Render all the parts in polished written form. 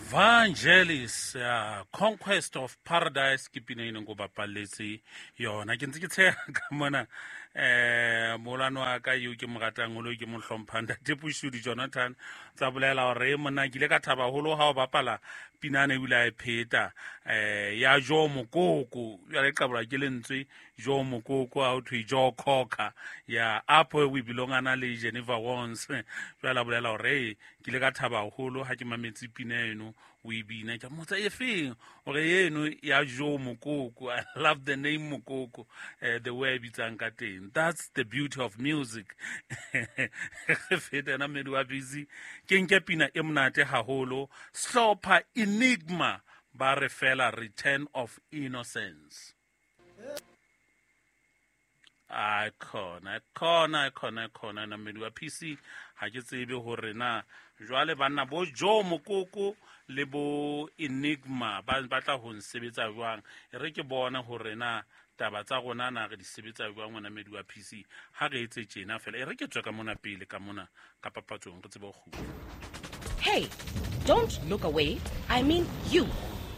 Vangelis, Conquest of Paradise ke pina e neng ko bapalletse yona. Ke ntse ke tsheha ka mona, moholwane wa ka eo ke mo ratang holo, ke mo hlomphang, Ntate Pushudi Jonathan, tsa bolela hore monna ke ile ka thaba haholo ha o bapala pinane ebile a e pheta, ya Jo Mokoko. Jwale e qabolwa ke lentswe Jo Mokoko, ha ho thwe Joe Cocker ya Up Where We Belong, ana le Jennifer Warnes. Jwale a bolela hore ke ile ka thaba haholo ha ke mametse pina eno o e bina. Ke mmotsa e feng, hore eno ya Jo Mokoko. I love the name Mokoko, the way a bitsang ka teng. That's the beauty of music. Re feta ena mmedi wa busy, ke nke pina e monate haholo, Hlopha Enigma, ba re fela Return of Innocence. A khona khona khona khona na mmedi wa PC, ha ke tsebe hore na jwale banna bo Joe Mokoko le bo Enigma ba batla ho nsebetsa jwang. E re ke bone hore na taba tsa rona na re di sebetsa jwang. Ngwana mmedi wa PC, ha re etse tjena fela, e re ke tswe ka mona pele, ka mona ka papatsong, re tsebe ho kgutla. Hey, don't look away. I mean you.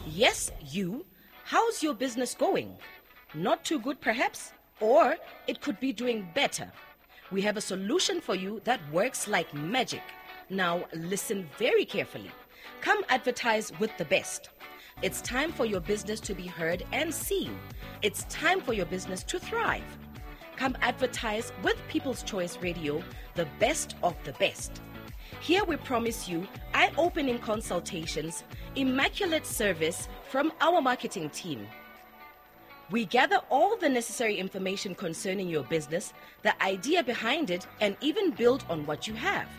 Yes, you. How's your business going? Not too good, perhaps? Or it could be doing better. We have a solution for you that works like magic. Now, listen very carefully. Come advertise with the best. It's time for your business to be heard and seen. It's time for your business to thrive. Come advertise with People's Choice Radio, the best of the best. Here we promise you eye-opening consultations, immaculate service from our marketing team. We gather all the necessary information concerning your business, the idea behind it, and even build on what you have.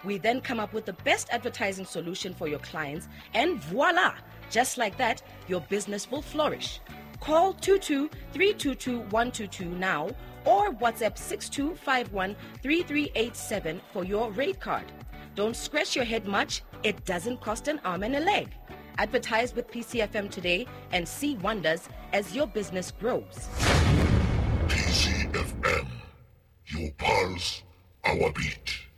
We then come up with the best advertising solution for your clients, and voila! Just like that, your business will flourish. Call 22-322-122 now or WhatsApp 6251-3387 for your rate card. Don't scratch your head much. It doesn't cost an arm and a leg. Advertise with PCFM today and see wonders as your business grows. PCFM, your pulse, our beat.